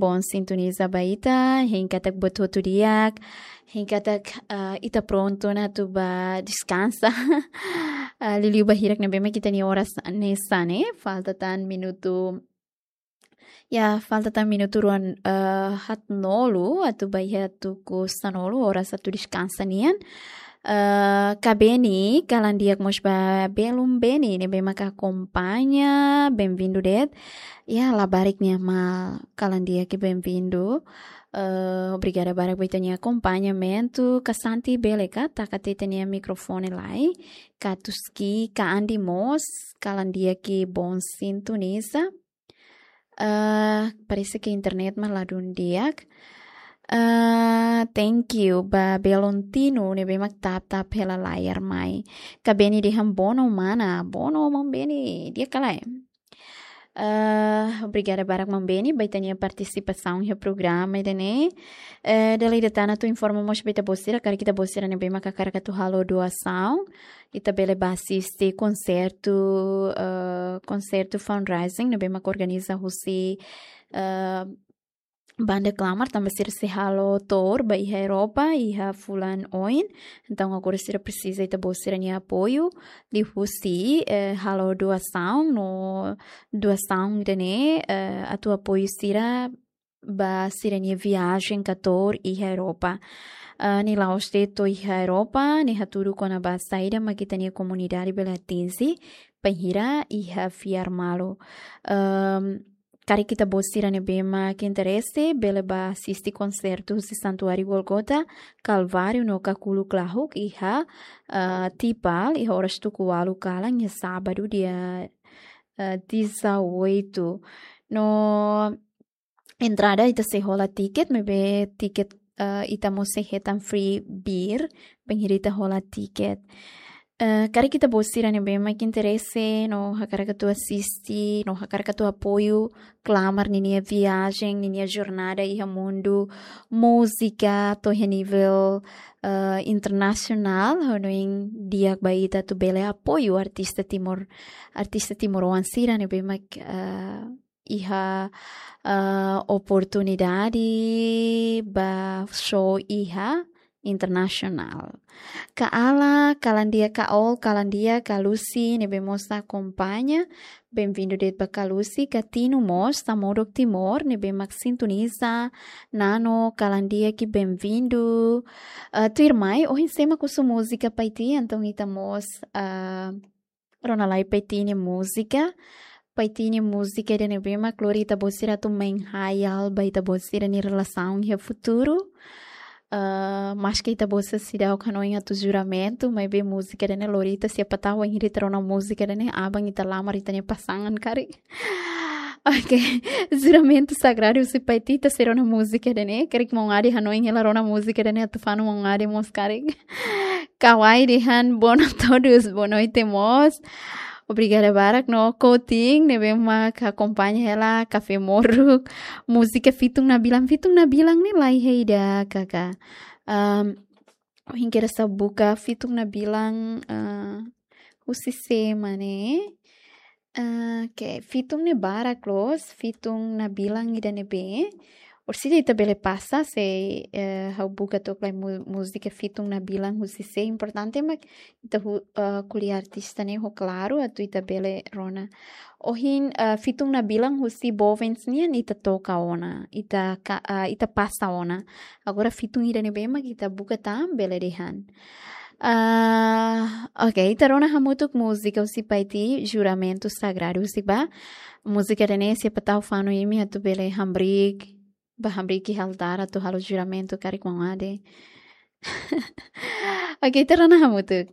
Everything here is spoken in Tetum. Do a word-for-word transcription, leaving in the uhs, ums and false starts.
Bom sintoniza ba ita, hein katak buat hotu di'ak, hein katak, ah, ita prontu ona atu ba deskansa. Ah, liuliu ba hirak ne'ebé mak ita-nia oras hanesan ne'e, falta tan minutu, ya, falta tan minutu ruan, ah, haatnulu atu ba iha tuku sanulu, oras atu deskansa nian. Eh, Kabeni, kalan di'ak mós ba belun Beni, ne'ebé maka akompaña, benvindu de'it. Ya, labarik nia mal, kalan di'ak, benvindu. Eh, obrigada barak ba ita-nia akompañamentu. Ka Santi bele ka, taka tiha ita-nia mikrofone lai. Ka Tuski, ka Andi mós, kalan di'ak, bom sintoniza. Eh, parese ke internet mak ladún di'ak. Eh, thank you ba belun Tinu ne'ebé mak tap-tap hela layar mai. Kabeni dehan bono mana, bono maun Beni, di'ak ka lae? Eh, obrigada barak maun Beni ba ita-nia partisipasaun iha programa ida-ne'e. Eh, dala ida tan atu informa mós ba ita-boot sira, karik ita-boot sira ne'ebé mak hakarak atu halo doasaun, ita bele ba asiste konsertu, eh, konsertu fundraising ne'ebé mak organiza husi, eh, Banda Klamar, tanba sira sei halo tour ba iha Europa iha fulan oin. Entaun agora sira presiza ita-boot sira-nia apoiu liuhusi, eh, halo doasaun, no doasaun ida-ne'e, eh, atu apoiu sira ba sira-nia viajen ka tour iha Europa. Ah, nia la'ós de'it to'o iha Europa, nia hatudu kona-ba saida mak ita-nia komunidade bele atinje bainhira iha fiar malu. Ehm, karik ita-boot sira ne'ebé mak interese, bele ba asiste konsertu husi Santuáriu Gólgota, Kalváriu no Kakulu Klahuk iha, ah, Tipal, iha oras tuku ualu kalan, iha sábadu, dia, ah, dezoito. No entrada ita sei hola tiket, maibé tiket, eh, ita mós sei hetan free beer, bainhira ita hola tiket. Eh, karik ita-boot sira ne'ebé mak interese, no hakarak atu asiste, no hakarak atu apoiu Klamar ninia viajen, ninia jornada iha mundu múzika, to'o iha nivel, eh, internasionál, hanoin di'ak ba ita atu bele apoiu artista Timor, artista timoroan sira ne'ebé mak, eh, iha, ah, oportunidade ba show iha internasionál. Ka Ala, kalan di'ak, ka Ol, kalan di'ak, ka Lucy, ne'ebé mós akompaña. Benvindu de'it ba ka Lucy, ka Tinu mós, Samodok Timor, ne'ebé mak sintoniza. Nano, kalan di'ak, benvindu. Ah, tuirmai, ohin sé mak husu múzika Paiti, entaun ita mós, ah, rona lai Paiti nia múzika. Paiti nia múzika ida ne'ebé mak lori ita-boot sira atu menghayal ba ita-boot sira-nia relasaun iha futuru. Ah, maske ita-boot sira seidauk hanoin atu juramentu, maibé múzika ida-ne'e lori ita, siapa tahu wainhira ita rona múzika ida-ne'e, aban ita lamar ita-nia pasangan karik. Oke, juramentu sagradu husi Paiti, ita sei rona múzika ida-ne'e, karik maun Ade hanoin hela rona múzika ida-ne'e, atu fanu maun Ade mós karik. Kawai dehan boa noite a todos, boa noite mós. Obrigada barak no Coutinho, ne'ebé mak akompaña hela Kafé Moruk. Múzika Fitun Nabilan, Fitun Nabilan ne'e laiha ida, kaka. Am, ohin kedas ha'u buka Fitun Nabilan, ah, husi sé mak ne'e. Ah, oke, Fitun ne'e barak loos, Fitun Nabilan ida ne'ebé. Orsida ita bele pasa, se, eh, ha'u buka took lai mu-, múzika Fitun Nabilan husi sé, importante mak ita hu-, eh, ko'alia artista ne'e ho klaru, atu ita bele rona. Ohin, eh, Fitun Nabilan husi Bovens nian ita toka ona, ita ka-, eh, ita pasa ona. Agora Fitun ida ne'ebé mak ita buka tan, bele dehan. Ah, oke, ita rona hamutuk múzika husi Paiti, Juramentu Sagradu husi bá. Múzika ida-ne'e siapa tahu fanu imi atu bele hamriik, bá hamriik iha altár atu halo juramentu karik maun Ade. Oke, ita rona hamutuk.